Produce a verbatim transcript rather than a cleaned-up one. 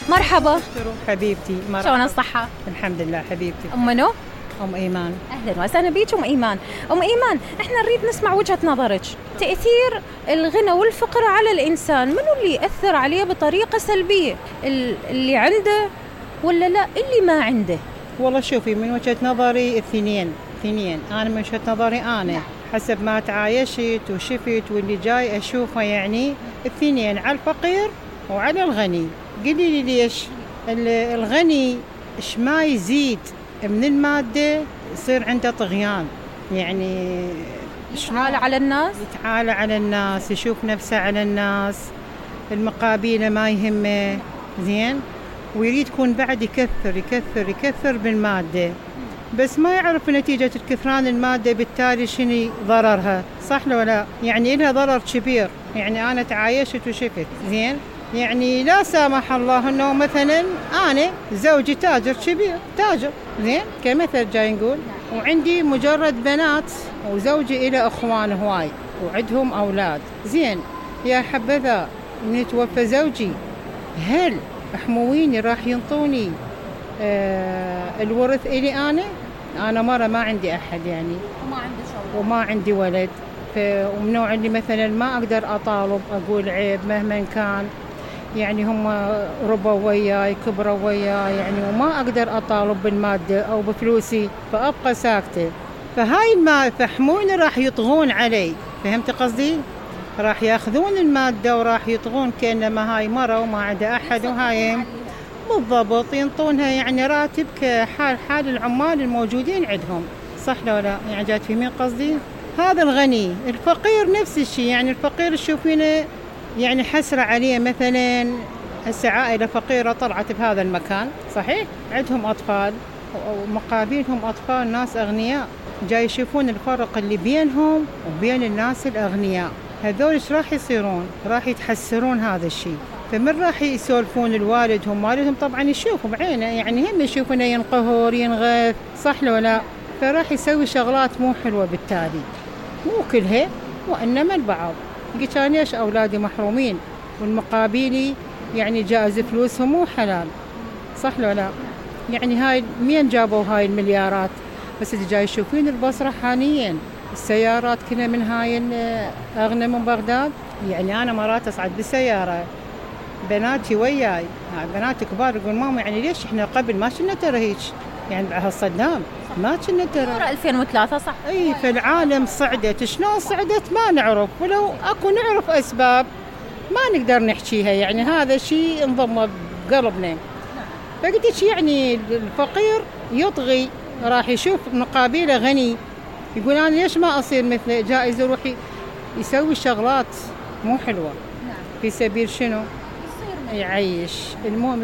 مرحبا حبيبتي، مرحبا. شلون الصحة؟ الحمد لله حبيبتي. أم منو؟ أم إيمان. أهلا وسهلا بيك أم إيمان. أم إيمان، إحنا نريد نسمع وجهة نظرك. تأثير الغنى والفقر على الإنسان، منو اللي يأثر عليه بطريقة سلبية؟ اللي عنده ولا لا اللي ما عنده؟ والله شوفي، من وجهة نظري اثنين اثنين أنا من وجهة نظري أنا حسب ما تعايشت وشفت واللي جاي أشوفه، يعني اثنين، على الفقير وعلى الغني. قولي لي ليش؟ الغني إيش ما يزيد من المادة يصير عنده طغيان، يعني يتعالى على الناس يتعالى على الناس، يشوف نفسه على الناس، المقابيله ما يهمه، زين، ويريد يكون بعد يكثر يكثر يكثر بالمادة، بس ما يعرف نتيجة الكثران المادة بالتالي شنو ضررها، صح لو لا؟ يعني لها ضرر كبير. يعني أنا تعايشت وشفت، زين، يعني لا سامح الله انه مثلا انا زوجي تاجر كبير، تاجر، زين، كمثل جاي نقول، وعندي مجرد بنات وزوجي إلى اخوان هواي وعندهم اولاد، زين، يا حبذا من يتوفى زوجي، هل حمويني راح ينطوني آه الورث إلي انا؟ انا مرة ما عندي احد يعني، وما عندي شغل وما عندي ولد، ومن نوع اللي مثلا ما اقدر اطالب اقول عيب مهما كان، يعني هم ربوا وياي كبروا وياي يعني، وما أقدر أطالب بالمادة أو بفلوسي، فأبقى ساكتة. فهاي المال فحموني راح يطغون علي، فهمت قصدي؟ راح ياخذون المادة وراح يطغون كأنما هاي مرة وما عندها أحد، وهاي بالضبط ينطونها يعني راتب كحال حال العمال الموجودين عندهم، صح لو لا؟ يعني جات في مين قصدي؟ هذا الغني. الفقير نفس الشيء، يعني الفقير تشوفينه يعني حسرة عليه، مثلا هسه عائلة فقيرة طلعت بهذا المكان، صحيح؟ عندهم أطفال ومقابلهم أطفال ناس أغنياء، جاي يشوفون الفرق اللي بينهم وبين الناس الأغنياء، هذول ايش راح يصيرون؟ راح يتحسرون هذا الشيء، فمن راح يسولفون الوالدهم، والدهم طبعا يشوفوا بعينه، يعني هم يشوفونه ينقهر ينغث، صح لو لا؟ فراح يسوي شغلات مو حلوة بالتالي، مو كلها وإنما البعض. قلت أنا ليش أولادي محرومين والمقابلي يعني جائز فلوسهم مو حلال، صح لو لا؟ يعني هاي مين جابوا هاي المليارات؟ بس اللي جاي يشوفين البصرة حاليا السيارات كلها من هاي أغنى من بغداد. يعني أنا مرات أصعد بالسيارة بناتي وياي، بنات كبار يقول ماما يعني ليش إحنا قبل ما كنا ترى هيك، يعني بعد صدام ما كنا ترى ألفين وثلاثة، صح؟ اي، فالعالم صعدت، شلون صعدت ما نعرف، ولو اكو نعرف اسباب ما نقدر نحكيها، يعني هذا شيء انضم بقلبنا. فقلت يعني الفقير يطغي، راح يشوف مقابله غني يقول انا ليش ما اصير مثله، جائز يروح يسوي شغلات مو حلوه في سبيل شنو؟ يعيش. المهم